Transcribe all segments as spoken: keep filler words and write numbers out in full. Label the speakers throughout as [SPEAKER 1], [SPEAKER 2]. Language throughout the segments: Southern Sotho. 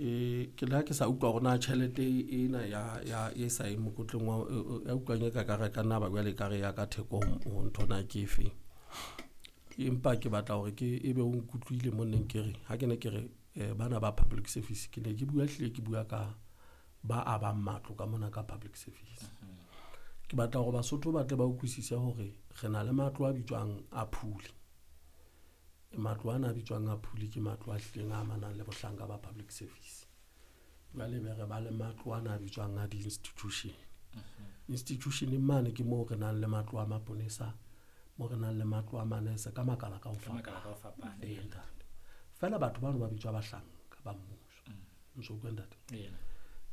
[SPEAKER 1] Ke ke le ha ke sa utlwa hore na tjhelete ena ya ya e sa yeng mokotleng wa ya utlwang e ka ka re ka nna ba jwale ekare ya ka theko ho ntho na ke efeng. Empa ke batla hore ke ebe o nkutlwile mo neng ke re ha ke ne ke re bana ba public service, ke ne ke bua hlile ke bua ka ba abang matlo ka mona ka public service. Ke batla hore Basotho ba tle ba utlwisise hore re na le matlo a bitswang a phule. Matlo ana a bitswang a phule ke matlo a hlileng a amanang le bohlanka ba public service. Jwale be re ba le matlo ana a bitswang a di-institution. Institution-eng mane ke moo re nang le matlo a maponesa, moo re nang le matlo a manese ka makala ka ho fapana. Ee, ntate. Feela batho bano ba bitswa bahlanka ba mmuso. O ntso utlwa ntate?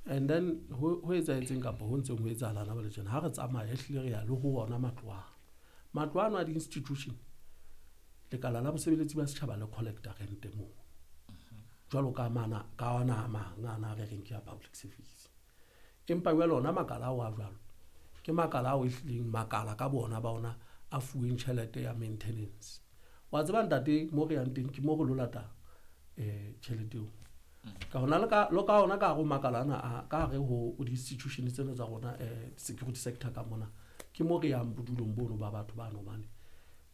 [SPEAKER 1] And then ho ho etsahetseng kapa ho ntseng ho etsahala hona jwale tjena, ha re tsamaya ehlile re ya le ho ona matlo ano. Matlo ano a di-institution, lekala la bosebeletsi ba setjhaba le collecta rente moo. Jwalo ka mana ka ona a mang ana a re reng ke a public service. Empa jwale ona makala ao a jwalo, ke makala ao ehlileng makala ka bona ba ona a fuweng tjhelete ya maintenance. Wa tseba ntate mo re yang teng ke mo re lo lata um tjhelete eo. Ka hona le ka le ka ona ka hare ho makala ana a ka hare ho di-institution tsena tsa rona um security sector ka mona, ke mo re yang bodulong bono ba batho bano hobane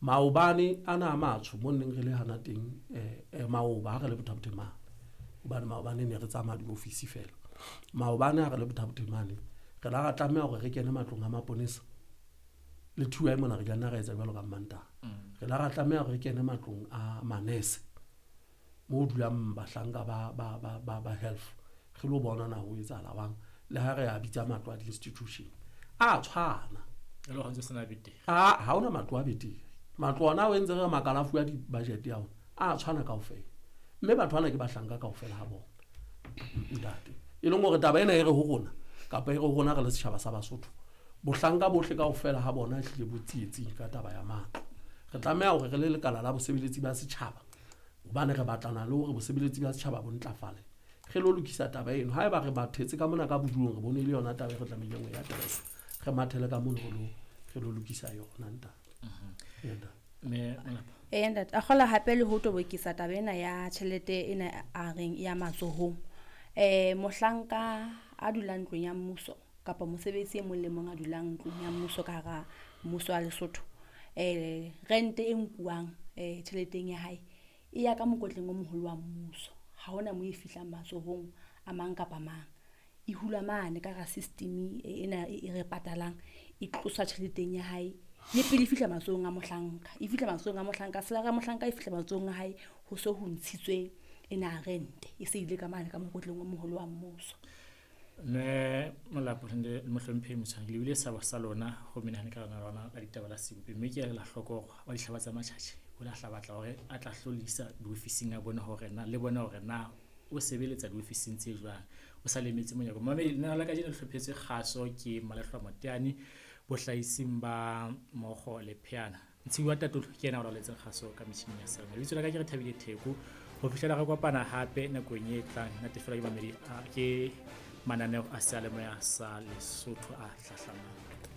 [SPEAKER 1] maobane ana a matsho mo neng re le hana teng um maoba ha re le Botha-Bothe mane, hobane maobane ne re tsamaya di-office feela. Maobane ha re le Botha-Bothe mane, re la ra tlameha hore re kene matlong a maponesa le T Y mona re ka nna ra etsa jwalo ka Mmantaha. Re la ra tlameha hore re kene matlong a manese mo dulang bahlanka ba ba ba ba ba health re lo bona na ho etsahala jwang. Le ha re a bitsa matlo a di-institution a tshwana.
[SPEAKER 2] E le hore ntse sena betere.
[SPEAKER 1] A ha hona matlo a betere. Matlo ona o entse re makala a fuwa di-budget ya ona a tshwana kaofela. Mme batho bana ke bahlanka kaofela ha bona. Ntate. E leng hore taba ena e re ho rona kapa e re ho rona re le setjhaba sa Basotho, bohlanka bohle kaofela ha bona ehlile bo tsietsing ka taba ya matlo. Re tlameha hore re le lekala la bosebeletsi ba setjhaba hobane re batlana le hore bosebeletsi ba setjhaba bo ntlafale. Re lo lokisa taba eno. Haeba re mathetse ka mona ka bodulong re bone e le yona taba e re tlamehileng ho e address. Re mathele ka mono re lo re lo lokisa yona ntate. Ee, ntate.
[SPEAKER 2] Mme Molapa.
[SPEAKER 3] Ee ntate, a kgola hape le ho tobokisa taba ena ya tjhelete ena a reng ya matsohong. Eh mohlanka a dulang ntlong ya mmuso kapa mosebetsi e mong le mong a dulang ntlong ya mmuso ka hara mmuso wa Lesotho. Eh rente e nkuwang eh tjheleteng ya hae e ya ka mokotleng o moholo wa mmuso. Ha hona mo e fihlang matsohong a mang kapa mang. E hulwa mane ka hara system ena e re patalang, e tloswa tjheleteng ya hae le pele e fihla matsohong a mohlanka. E fihla matsohong a mohlanka, salary ya mohlanka e fihla matsohong a hae ho so ho ntshitswe ena rente e se ile ka mane ka mokotleng o moholo wa mmuso.
[SPEAKER 2] Mme Molapo le mohlomphehi Motshwane, le bile seabo sa lona ho menahane ka lona lona la ditaba la sebopi, mme ke a ela hloko hore wa dihlaba tsa Matjhatjhe o la hla batla hore a tla hlolisa diofising a bone hore na le bone hore na o sebeletsa diofising tse jwang, o sa lemetse monyako. Mamedi, lenaneo la kajeno le hlophetswe kgaso ke Malehlwa Moteane bohlahising ba Mokgo le Pheana. Ntshiu wa Tatolo ke yena a laoletseng kgaso ka metjhining ya seyalemoya. Lebitso la ka ke re Thabile Theko. Ho fihlela re kopana hape nakong e tlang, natefelwa ke mamedi a ke mananeo a seyalemoya sa Lesotho a hlahlamang.